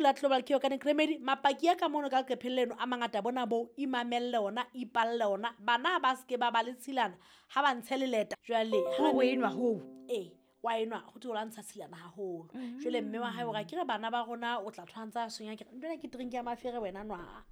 La Global Cure Organic Remedy, mapaki a ka mono ka leqepheng leno a mangata bona bo imamelle ona, ipalle ona. Bana ba se ke ba ba le tshilana ha ba ntshe leleta. Jwale ha o enwa hoo. Ee, wa enwa ho thwe o lwantsha tshilana haholo. Jwale mme wa hae o re ke re bana ba rona o tla tshwantsa sonya ke re ntwena ke drink ya mafere wena nwa.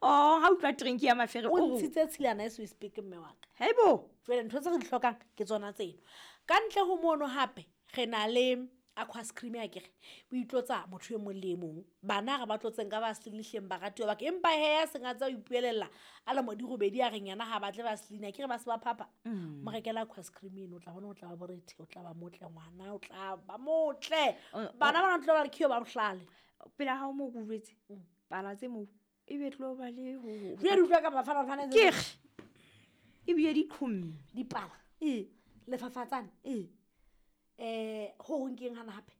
Oh, ha utlwa drink ya mafere o ntshitse tshilana e so speak mme wa ka. Haibo. Jwale ntho tse re di hlokang ke tsona tseno. Ka ntle ho mono hape re na le aqua cream ya kere o itlotsa motho e mong le e mong. Bana re ba tlotseng ka vaseline hleng baratuwa ba ka, empa he ya seng a tsa ho ipuelella a le modi robedi a reng yena ha batle vaseline, akere ba se ba phapha. Mo rekela aqua cream eno, o tla bona o tla ba borethe, o tla ba motle ngwana, o tla ba motle. Bana ba tlo ba re khio ba bohlale. Pela hao mo ke jwetse, pala tse mo e be tlo ba le ho. Jwale utlwa ka bafana bafana tse. Ke re e bile di qhomme. Dipala. Ee. Lefafatsane. Ee. Ho hong keng hana hape?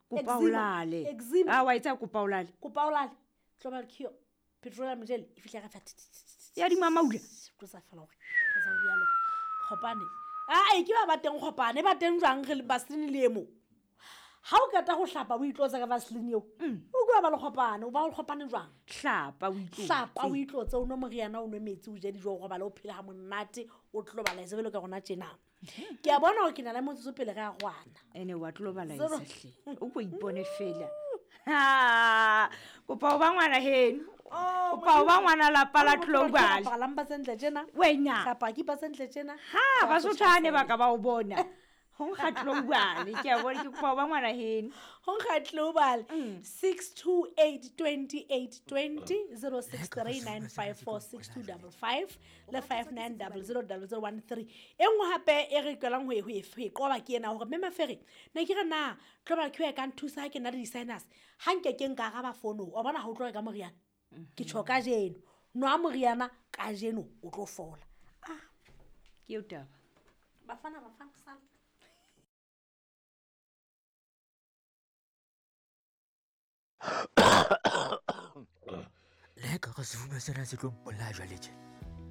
Kopa o lale. Eczema. Ah, wa etsa kopa o lale. Kopa o lale. Global Cure. Petroleum gel e fihla ka fa. Ya di mamaula. Tlosa fela hore. Tlosa ho dialo. Kgopane. Ah, e ke ba ba teng kgopane, ba teng jwang re le vaseline le emo. Ha o qeta ho hlapa o itlotsa ka vaseline eo. O kwa ba le kgopane, o ba le kgopane jwang? Hlapa o itlotse. Hlapa o itlotse, o nwe moriana, o nwe metsi, o je dijo, o robale, o phele ha monate, o tlo bala e ka rona tjena. Ke a bona hore ke na le motsotso pele re a rwana. Ene wa tlo bala hle. O ko ipone fela. Ha, kopa o ba ngwana heno. Kopa o ba ngwana lapa la Global. Lamba sentle tjena. Wena. Hlapa ke pa sentle tjena. Ha, ba sothane ba ka ba o bona. Ho nkga Global, ke a bona ke kopa o ba ngwana heno. Ho nkga Global 628 28 20 0639546255 le 59000013. E nngwe hape e re qelang ho e qoba ke ena hore mme Mafere ne ke re na Global Cure e ka nthusa ha ke na le di-sinus, ha nke ke nka araba fono, wa bona ha o tlo reka moriana. Ke tjho kajeno, nwa moriana kajeno o tlo fola. Ah, ke eo taba. Bafana bafana sala. Le ka re sefuba sena se tlo mpolaya jwale tje.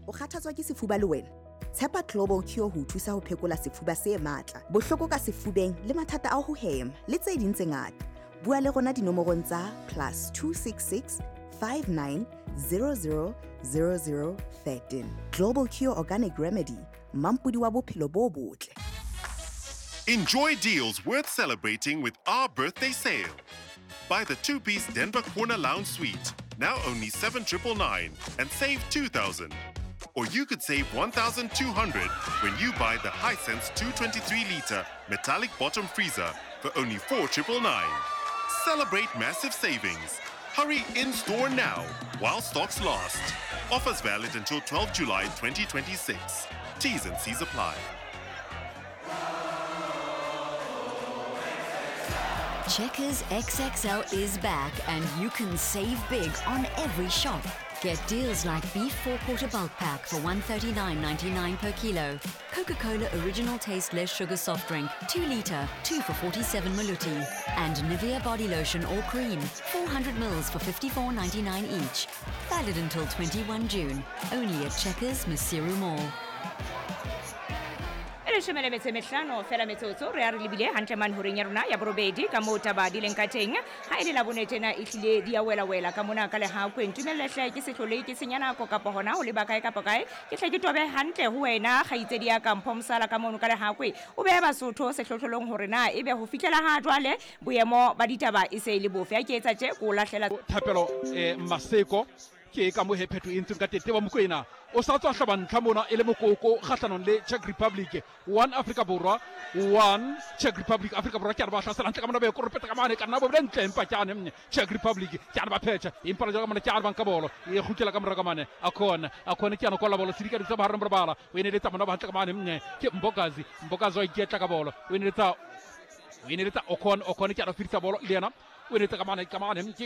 O kgathatswa ke sefuba le wena? Tshepa Global Cure ho thusa ho phekola sefuba se matla, bohloko ka sefubeng le mathata a ho hema le tse ding tse ngata. Bua le rona dinomorong tsa +266 59 00 00 13. Global Cure Organic Remedy, mampodi wa bophelo bo botle. Enjoy deals worth celebrating with our birthday sale. Buy the 2-piece Denver Corner Lounge Suite, now only 7,999 and save 2,000. Or you could save 1,200 when you buy the Hisense 223-liter metallic bottom freezer for only 4,999. Celebrate massive savings. Hurry in-store now while stocks last. Offers valid until 12 July 2026. T's and C's apply. Checkers XXL is back and you can save big on every shop. Get deals like beef 4-quarter bulk pack for $139.99 per kilo, Coca-Cola original taste less sugar soft drink, 2 liter, 2 for 47 maluti, and Nivea body lotion or cream, 400 mils for $54.99 each. Valid until 21 June, only at Checkers Maseru Mall. E leshome le metso e mehlano fela metsotso re a re lebile hantle mane horeng ya rona ya borobedi ka moo taba di leng ka teng. Ha e le la bone tjena e hlile di a wela-wela ka mona ka Lehakweng. Tumelle hle ke se hlole ke senya nako kapa hona ho leba kae kapa kae. Ke hle ke tobe hantle ho wena kgaitsedi ya ka Mpho Mosala ka mono ka Lehakwe. O behe Basotho sehlohlolong hore na ebe ho fihlela ha jwale boemo ba ditaba e se e le bofe. Ha ke etsa tje ko lahlela Thapelo Maseko ke ka mo he phetho e ntseng ka tete wa Mokoena o sa tswa hlaba ntlha mona e le mokoko kgahlanong le Czech Republic. 1 Afrika Borwa 1 Czech Republic. Afrika Borwa ke a re ba hlasela ntle ka mona be koropeta ka mane ka nna bo bile ntle empa ke ane Czech Republic ke a re ba phetha empa le jwa ka mona ke a re ba nka bolo e kgutlela ka mora ka mane a khona ke a no kolla bolo sedika ditsa ba hareng bala o ene letsa mona ba hantle ka mane ke Mbokazi wa iketla ka bolo o ene letsa Okon ke a re fitisa bolo le yena o ne ka mane ke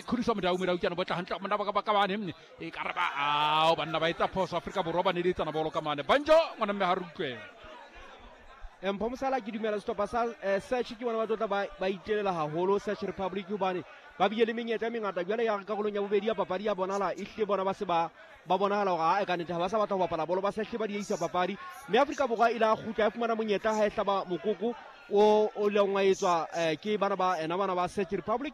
khudiswa modau ke ana botla hantle mona ba ka mane e ka re ba ao banna ba etsa phoso Afrika Borwa ba neletsana bolo ka mane banjo ngwana mme ha re utlwe. Mpho Mosala ke dumela sehlopha sa Czech ke bona ba tlotla ba itelela haholo Czech Republic hobane ba bile le menyetla e mengata. Jwale ya karolong ya bobedi ya papadi ya bonala e hle bona ba se ba bonahala hore ha e ka nnete ha ba sa batla ho bapala bolo, ba se hle ba dieisa papadi. Mme Afrika Borwa e la kgutla ya fumana monyetla ha e hlaba mokoko O o leng wa etswa ke bana ba ena bana ba Czech Republic.